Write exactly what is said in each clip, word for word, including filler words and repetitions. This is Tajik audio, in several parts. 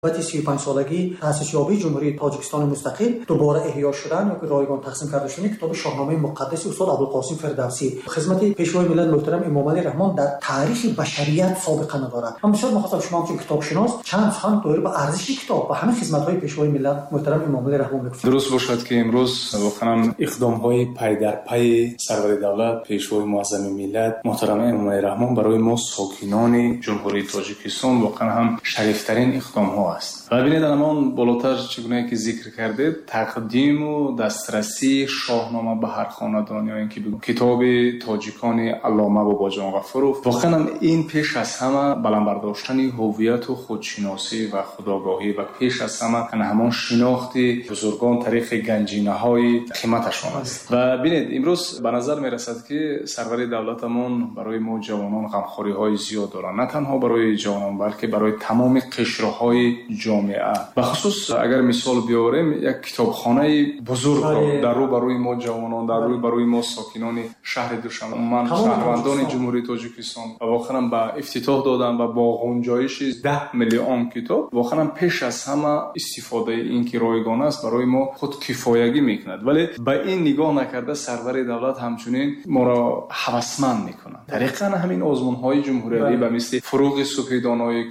Муносибати сию панҷ солагии таъсисёбии Ҷумҳурии Тоҷикистони мустақил дубора эҳё шудан ё ки ройгон тақсим карда шудани китоби Шоҳномаи муқаддаси устод Абулқосим Фирдавсӣ. Хизмати Пешвои миллат муҳтарам Эмомалӣ Раҳмон дар таърихи башарият собиқа надорад. Ман бисёр мехостам шумо ҳамчун китобшинос чанд сухан доир ба арзиши китоб ва ҳамин хизматҳои Пешвои миллат муҳтарам Эмомалӣ Раҳмон мегуфтед. Дуруст бошад, ки имрӯз воқеан иқдомҳои пайдарпайи сарвари давлат, Пешвои муаззами миллат муҳтарам Эмомалӣ Раҳмон барои мо, сокинони Ҷумҳурии Тоҷикистон, воқеан ҳам шарифтарин иқдомҳо аст. Ва бинед, ҳамон болотар чӣ гуна ки зикр кардед, тақдиму дастрасии Шоҳнома ба ҳар хонадон ё ин ки китоби тоҷикони аллома Бобоҷон Ғафуров, воқеан ин пеш аз ҳама баланд бардоштани ҳувияту худшиносӣ ва худогоҳӣ ва пеш аз ҳама ҳамон шинохти бузургон тариқи ганҷинаҳои қиматашон аст. Ва бинед, имрӯз ба назар мерасад, ки сарвари давлатамон барои мо ҷавонон ғамхориҳои зиёд доранд, на танҳо барои ҷавонон, балки барои тамоми қишрҳои ҷомеа. Бахусус агар мисол биёрем, як китобхонаи бузургро дар рӯ барои мо ҷавонон, дар рӯ барои мо сокинони шаҳри Душанбе, умуман шаҳрвандони Ҷумҳурии Тоҷикистон воқеан ба ифтитоҳ додан ва бо ғунҷоиши даҳ миллион китоб, воқеан пеш аз ҳама истифодаи ин ки ройгон аст, барои мо худкифоягӣ мекунад. Вале ба ин нигоҳ накарда, сарвари давлат ҳамчунин моро ҳавасманд мекунад тариқан ҳамин озмунҳои ҷумҳуриявӣ, ба мисли «Фуруғи субҳи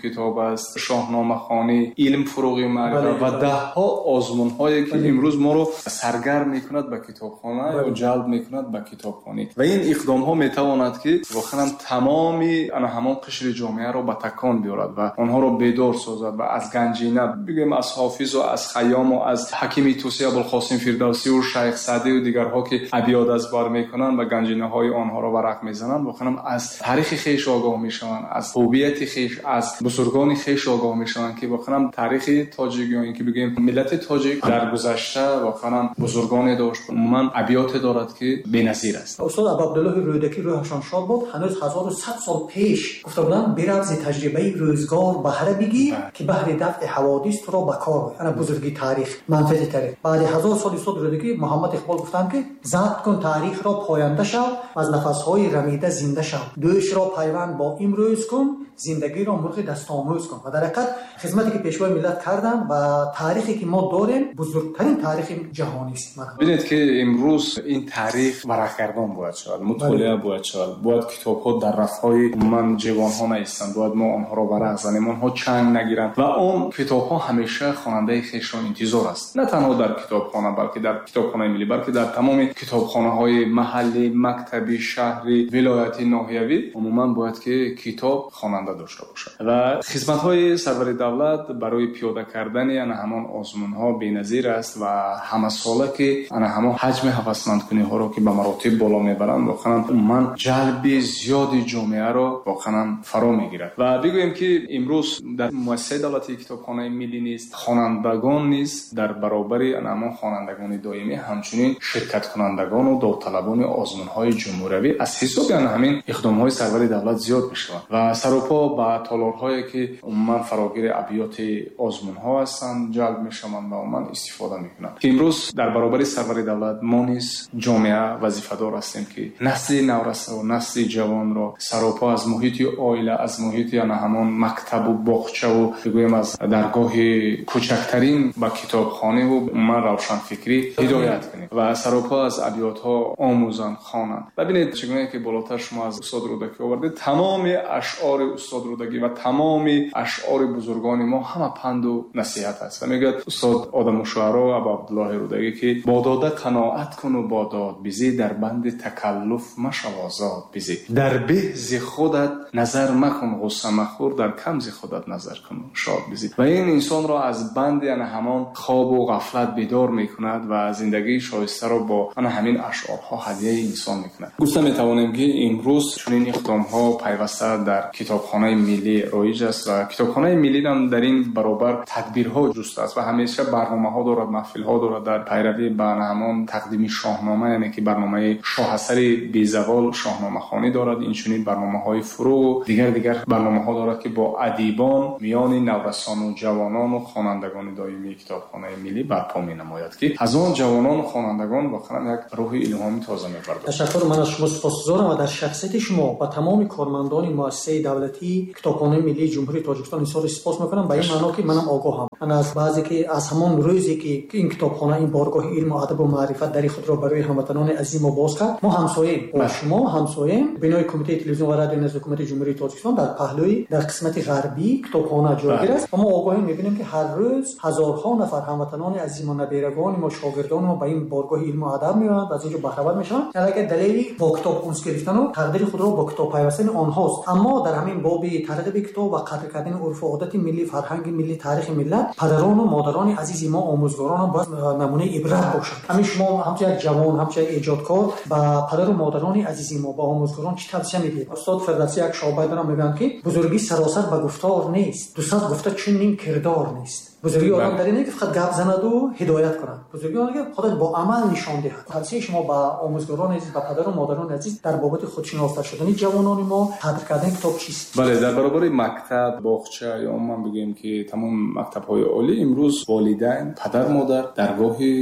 китоб аст», «Шоҳномахонӣ», «Илм фуруғи маърифат» ва даҳҳо озмунҳое, ки имрӯз моро саргарм мекунад ба китобхона ё ҷалб мекунад ба китобхонӣ. Ва ин иқдомҳо метавонад, ки воқеан тамоми ана ҳамон қишри ҷомеаро ба такон биёрад ва онҳоро бедор созад ва аз ганҷина, бигӯем, аз Ҳофизу аз Хайёму аз Ҳакими Тӯсӣ Абулқосим Фирдавсию Шайх Саъдию дигарҳо, ки абёд аз бар мекунанд ва ганҷинаҳои онҳоро варақ мезананд, воқеан аз таърихи хеш огоҳ мешаванд, аз ҳувияти хеш, аз бузургони хеш огоҳ мешаванд, ки воқеан таърихи тоҷик ё ин ки бигӯем миллати тоҷик дар гузашта воқеан бузургоне дошт, умуман абёте дорад, ки беназир аст. Устод Абуабдуллоҳи Рӯдакӣ, рӯҳашон шод бод, ҳанӯз ҳазору сад сол пеш гуфта буданд: «Бирав, зи таҷрибаи рӯзгор баҳра бигир, ки баҳри дафъи ҳаводис туро ба кор». Ана бузурги таърих, манфиати таърих. Баъди ҳазор сол устод Рӯдакӣ, Муҳаммад Иқбол гуфтанд, ки «Забт кун таърихро, поянда шав, аз нафасҳои рамида зинда шав, дӯшро пайванд бо имрӯз кун, зиндагиро мурғи дастомӯз кун». Ва дар ҳақиқат хизмате ки Пешвои миллат карданд ва таърихе ки мо дорем, бузургтарин таърихи ҷаҳонист. Бинед, ки имрӯз ин таърих варақгардон бояд шавад, мутолиа бояд шавад, бояд китобҳо дар рафҳои умуман ҷевонҳо наистанд, бояд мо онҳоро варақ занем, онҳо чанг нагиранд ва он китобҳо ҳамеша хонандаи хешро интизор аст. На танҳо дар китобхона, балки дар китобхонаи миллӣ, балки дар тамоми китобхонаҳои маҳаллӣ, мактабӣ, шаҳрӣ, вилоятӣ, ноҳиявӣ, умуман бояд ки китоб хонанда дошта бошад. Ва хизматҳои сарвари давлат барои пиёда кардани ана ҳамон озмунҳо беназир аст ва ҳамасола ки ана ҳамон ҳаҷми ҳавасмандкуниҳоро ки ба маротиб боло мебаранд, воқеан умуман ҷалби зиёди ҷомеаро воқеан фаро мегирад. Ва бигӯем, ки имрӯз дар муассисаи давлатии китобхонаи миллӣ низ хонандагон низ дар баробари ана ҳамон хонандагони доимӣ, ҳамчунин ширкаткунандагону довталабони озмунҳои ҷумҳуриявӣ аз ҳисоби ана ҳамин иқдомҳои сарвари давлат зиёд мешаванд ва саропо ба толорҳое, ки умуман фарогири абёти озмунҳо ҳастанд, ҷалб мешаванд ва умуман истифода мекунанд. Ки имрӯз дар баробари сарвари давлат мо низ, ҷомеа, вазифадор ҳастем, ки насли наврасаву насли ҷавонро саропо аз муҳити оила, аз муҳити ана ҳамон мактабу боғчаву, бигӯем, аз даргоҳи кӯчактарин ба китобхониву умуман равшанфикрӣ ҳидоят кунем ва саропо аз абётҳо омӯзанд, хонанд. Ва бинед, чӣ гуна ки болотар шумо аз устод Рӯдакӣ овардед, тамоми ашъори устод Рӯдакӣ ва тамоми ашъори бузургони мо ҳама панду насиҳат аст. Ва мегӯяд устод Одаму Шуаро Абу Абдуллоҳи Рӯдакӣ, ки «Бо дода қаноат куну бо дод бизӣ, дар банди такаллуф машав, озод бизӣ, дар беҳ зи худат назар макун, ғусса махӯр, дар кам зи худат назар куну шод бизӣ». Ва ин инсонро аз банди ана ҳамон хобу ғафлат бедор мекунад ва зиндагии шоистаро бо ана ҳамин ашъорҳо ҳадияи инсон мекунад. Гуфта метавонем, ки имрӯз чунин иқдомҳо пайваста дар китобхонаи миллӣ роиҷ аст ва китобхонаи миллӣ ҳам дар ин баробар тадбирҳо ҷустааст ва ҳамеша барномаҳо дорад, маҳфилҳо дорад дар пайравӣ ба ҳамон тақдими Шоҳнома, яъне ки барномаи шоҳасари безавол шоҳномахонӣ дорад, инчунин барномаҳои фурӯғу дигар дигар барномаҳо дорад, ки бо адибон миёни наврасону ҷавонону хонандагони доимии китобхонаи миллӣ барпо менамояд, ки аз он ҷавонону хонандагон воқеан як рӯҳи илҳоми тоза мебардорад. Ташаккур, ман аз шумо сипосгузорам ва дар шахсияти шумо ба тамоми кормандони муассисаи давлатии давлатии Китобхонаи миллии Ҷумҳурии Тоҷикистон изҳори сипос мекунам, ба ин маъно ки манам огоҳам. Ман аз баъзе ки аз ҳамон рӯзе ки ин китобхона, ин боргоҳи илму адабу маърифат дари худро барои ҳамватанони азизи мо боз кард, мо ҳамсоем, бо шумо ҳамсоем. Бинои Кумитаи телевизион ва радиои назди Ҳукумати Ҷумҳурии Тоҷикистон дар паҳлӯи, дар қисмати ғарбии китобхона ҷойгир аст ва мо огоҳем, мебинем ки ҳар рӯз ҳазорҳо нафар ҳамватанони азизи мо, наберагони мо, шогирдони мо ба ин боргоҳи илму адаб меоянд, аз инҷо баҳравар мешаванд. Аллакай далели бо китоб унс гирифтану тақдири худро бо китоб пайвастани онҳост. Аммо дар ҳамин боби тарғиби китоб ва қадр кардани урфу одати миллӣ, фарҳанги миллӣ, таърихи миллат, падарону модарони азизи мо, омӯзгорон бояд намунаи ибрат бошанд. Ҳамин шумо ҳамчун як ҷавон, ҳамчун як эҷодкор ба падару модарони азизи мо, ба омӯзгорон чӣ тавсия медиҳед? Устод Фирдавсӣ як шоҳбайт дорам, мегӯянд ки бузургӣ саросар ба гуфтор нест, дусад гуфта чунин кирдор нест. Бузургии одам дар ин ки фақат гап занаду ҳидоят кунад, бузургии он ки худаш бо амал нишон диҳад. Тавсияи шумо ба омӯзгорони азиз, ба падару модарони азиз дар бобати худшиноста шудани ҷавонони мо, қадр кардани китоб чист? Бале, дар баробари мактаб, боғча ё умуман бигӯем ки тамом мактабҳои олӣ, имрӯз волидайн, падар, модар, даргоҳи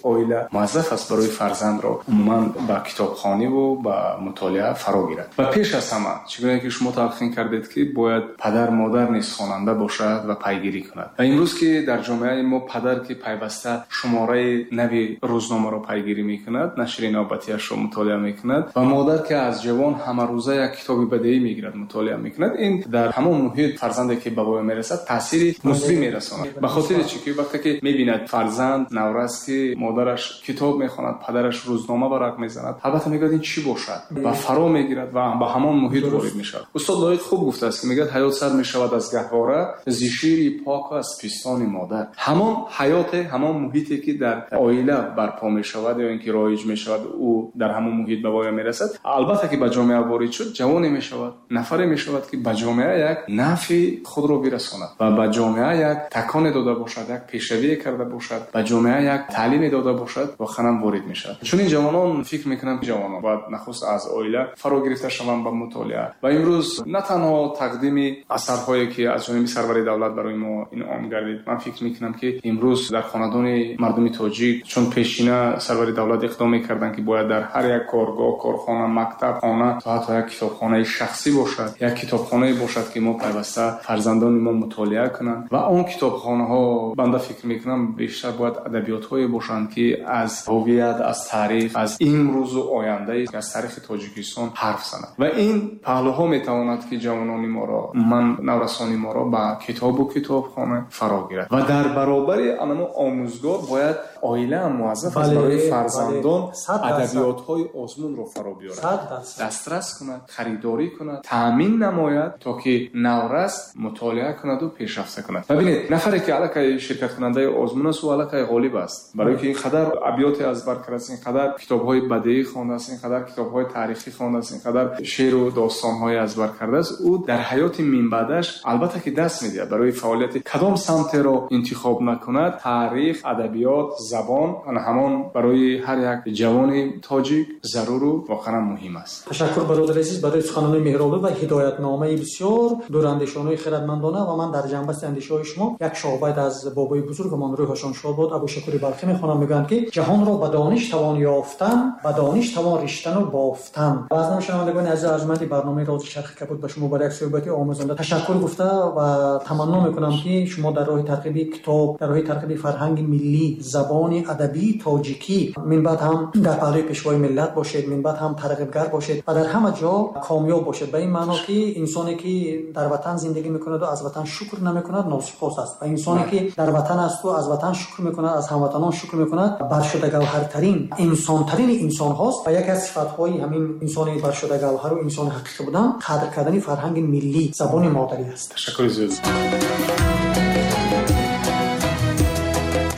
оила муваззаф аст барои фарзандро умуман ба китобхонӣ ва ба мутолиа фаро гирад. Ва пеш аз ҳама, чӣ гуна ки шумо талқин кардед ки бояд падар, модар низ хонанда бошад ва пайгирӣ кунад. Ва имрӯз ки дар ҷомеаи мо падар ки пайваста шумораи нави рӯзномаро пайгирӣ мекунад, нашри навбатиашро мутолиа мекунад ва модар ки аз ҷавон ҳамарӯза як китоби бадеӣ мегирад, мутолиа мекунад, ин дар ҳамон муҳит фарзанде ки ба воя мерасад таъсири мусбӣ мерасонад. Ба хотири чӣ ки вақте ки мебинад фарзанд наврас ки модараш китоб мехонад, падараш рӯзнома варақ мезанад, албатта мегӯяд ин чӣ бошад ва фаро мегирад ва ба ҳамон муҳит ворид мешавад. Устод Лоиқ хуб гуфтааст ки мегӯяд ҳаёт сар мешавад аз гаҳвора, зи шири пок ва аз пистони модар. Ҳамон ҳаёте, ҳамон муҳите ки дар оила барпо мешавад ё инки роиҷ мешавад, ӯ дар ҳамон муҳит ба воя мерасад. Албатта ки ба ҷомеа ворид шуд, ҷавоне мешавад, нафаре мешавад ки ба ҷомеа як нафъи худро бирасонад ва ба ҷомеа як таконе дода бошад, як пешравие карда бошад, ба ҷомеа як таълиме дода бошад, воқеан ворид мешавад. Чунин ҷавонон, фикр мекунам, ҷавонон бояд нахуст аз оила фаро гирифта шаванд ба мутолиа. Ва имрӯз на танҳо тақдими асарҳое ки аз ҷониби сарвари давлат барои мо инъом гардид, ман фикр мекунам ки имрӯз дар хонадони мардуми тоҷик, чун пешина сарвари давлат иқдом мекарданд ки бояд дар ҳар як коргоҳ, корхона, мактаб, хона то ҳатто як китобхонаи шахсӣ бошад, як китобхонае бошад ки мо пайваста фарзандони мо мутолиа кунанд. Ва он китобхонаҳо, банда фикр мекунам, бештар бояд адабиётҳое бошанд ки аз ҳувият, аз таърих, аз имрӯзу оянда, аз таърихи Тоҷикистон ҳарф занад. Ва ин паҳлӯҳо метавонад ки ҷавонони моро, умуман наврасони моро ба китобу китобхона фаро гирад. Ва дар баробари анамо омӯзгор бояд оила ҳам муваззаф аст барои фарзандон адабиётҳои озмунро фаро биёрад, дастрас кунад, харидорӣ кунад, таъмин намояд то ки наврас мутолиа кунаду пешрафта кунад. Ва бинед, нафаре ки аллакай ширкаткунандаи озмун аст, ӯ аллакай ғолиб аст, барои ки ин қадар абёте аз бар кардааст, ин қадар китобҳои бадеӣ хондааст, ин қадар китобҳои таърихӣ хондааст, ин қадар шеъру достонҳое аз бар кардааст. Ӯ дар ҳаёти минбаъдаш албатта ки даст медиҳад барои фаъолияти кадом самтеро интихоб накунад, таърих, адабиёт, забон ҳамон барои ҳар як ҷавони тоҷик заруру воқеан муҳим аст. Ташаккур бародари азиз барои суханони меҳрубонӣ ва ҳидоятномаи бисёр дурандешонаи хирадмандона. Ва ман дар ҷанбасти андешаҳои шумо як шоҳбайт аз бобои бузургамон рӯҳашон шод бод, Абӯшакури Балхӣ мехонам. Мегӯянд ки ҷаҳонро ба дониш тавон ёфтан, ба дониш тавон риштану бофтан. Ва аз номи шунавандагони азиз арҷманди барномаи Рози Чархи Кабуд ба шумо барои як суҳбати омӯзанда ташаккур гуфта ва таманно мекунам ки шумо дар роҳи тарғиби китоб, дар роҳи тарғиби фарҳанги миллӣ, забони адабии тоҷикӣ минбаъд ҳам дар паҳлӯи пешвои миллат бошед, минбаъд ҳам тарғибгар бошед ва дар ҳама ҷо комёб бошед. Ба ин маъно ки инсоне ки дар ватан зиндагӣ мекунад ва аз ватан шукр намекунад носипос аст ва инсоне ки дар ватан аст ва аз ватан шукр мекунад, аз ҳамватанон шукр мекунад, баршуда гавҳартарин инсонтарин инсонҳост. Ва яке аз сифатҳои ҳамин инсони баршуда гавҳару инсони ҳақиқӣ будан қадр кардани фарҳанги миллӣ, забони модарӣ аст. Ташаккури зиёд.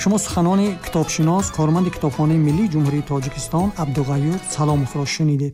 Шумо суханони китобшинос, корманди Китобхонаи миллии Ҷумҳурии Тоҷикистон Абдуғаюр Саломовро шунидед.